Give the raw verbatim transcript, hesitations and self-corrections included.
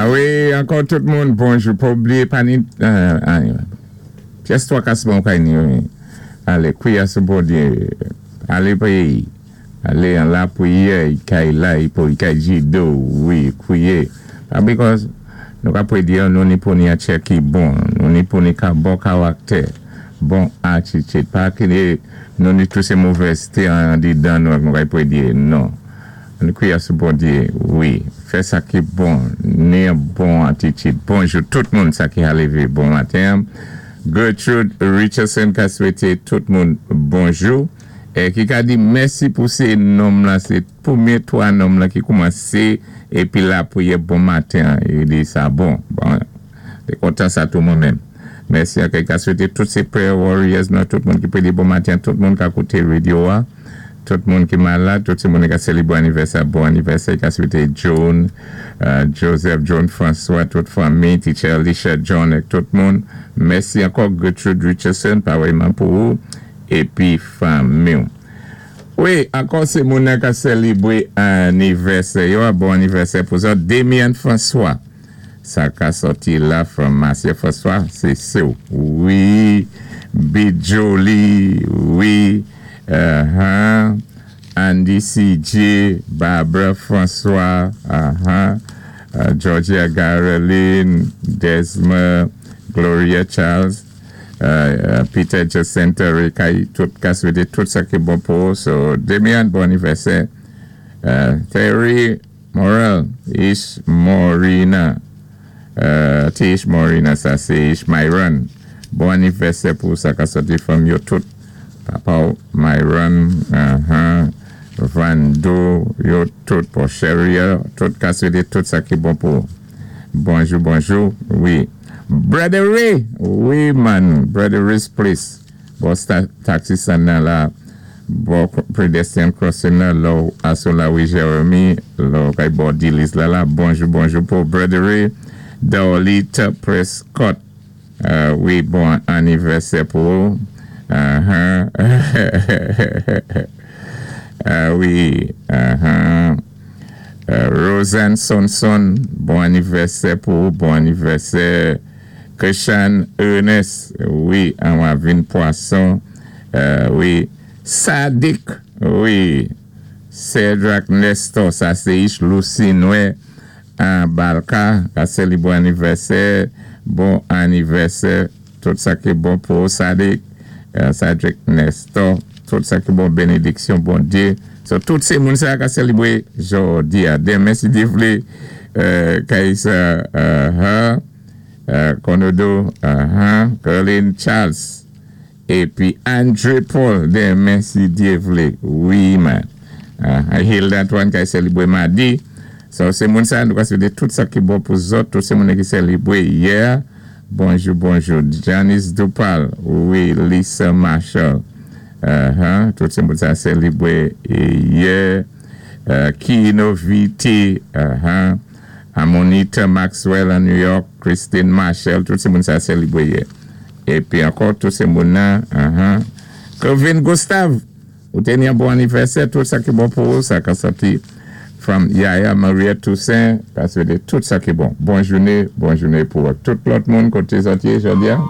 Wi, ankò tout moun, bonjou. Pa oubliyé, pa ni, euh, pyès twa kasman kay ni, wi. Alé, kwiyé sou Bondyé. Alé péyi. Alé an lapriyè, kay la, pou kay jido, wi, kwiyé. Pa because, nou ka pwé di nou ni pou ni an tchè ki bon, nou ni pou ni ka bon karaktè, bon atitid. Pa ki nou ni tou sé movèzté an didan nou nou ka pwé di, non. Nou kwiyé sou Bondyé, wi. Fè sa ki bon, ni an bon atitid. Bonjou tout moun sa ki a lévé bon maten. Gertrude Richardson ka swété tout moun bonjou. É ki ka di mèsi pou sé nonm la, sé pwémyé twa nonm la ki koumansé épi lapriyè bon maten, é di sa bon. Bon, té kontan sa tou mwen menm. Mèsi a ka swété tout sé prayer warriors nou, tout moun ki pwé di bon maten, tout moun ka kouté radyo a, tout moun ki malad, tout sé moun ki ka sélébwé anivèsè, bon anivèsè, ka swété John, euh, Joseph, John François, tout fanmi, Teacher Alicia John, ek tout moun. Mèsi ankò Gertrude Richardson, parèyman pou ou, épi fanmi. Wi, ankò sé moun ka sélébwé anivèsè yo, bon anivèsè pou sa, Damien François. Sa ka sòti la from Marcia François, sé sou. Wi, Bijoli, wi, uh-huh. Andy C J, Barbara François, uh-huh. uh, Georgia Caroline, Desma, Gloria Charles, uh, uh, Peter Jacinta Rekay, tout ka swété tout sa ki bon pou. So, Demian, bon anivèsè. Uh, Terry Morel, Ish Morina, uh, Tish Morina, sa sé Ish Myron. Bon anivèsè pou sa ka sòti from yo tout. Papa Myron, uh-huh, Vando, yo tout pou Sheria, tout ka swété tout sa ki bon pou. Bonjou, bonjou, wi. Brother Ray, wi man, Brother Ray's Place. Bò taxi stand nan la, bò pedestrian crossing nan, lò aso la wi Jeremy, lò kay bò Dilis la la. Bonjou, bonjou pou Brother Ray. Dolita Prescott, uh, wi, bon anivèsè pou. Uh-huh. uh, wi, uh-huh. Uh, Roseanne Sonson, bon anivèsè pou, bon anivèsè. Krishan Ernest, wi, an Wavin Poisson, uh, wi. Sadik, wi. Cedric Nestor, sa sé Ish Lucy Noé, an Balka, ka séli bon anivèsè, bon anivèsè, tout sa ki bon pou Sadik, uh, Cedric Nestor, tout sa ki bon bénédiksyon, Bondyé. So, tout sé moun sa ka sélébwé jòdi a. Denmen si Dye vlé, uh, Kaisa, uh, uh, Konodo, uh, Caroline Charles, épi Andre Paul, denmen si Dye vlé. Wi, man. Uh, I hear that one ka sélébwé madi. So, sé moun sa, nou ka swété tout sa ki bon pou zòt, tout sé moun ki sélébwé yè. Bonjou, bonjou. Janice Dupal, wi, Lisa Marshall. Uh-huh. Tout sé moun sa sélébwé yè. Uh, Kino V T, uh-huh. Amonita Maxwell an New York, Christine Marshall, tout sé moun sa sélébwé yè. Épi ankò, tout sé moun nan, uh-huh. Kevin Gustave, ou té ni an bon anivèsè, tout sa ki bon pou ou, sa ka sòti from Yaya Maria Toussaint, ka swété tout sa ki bon. Bon jouné, bon jouné pou tout lòt moun koté sòti jòdi a.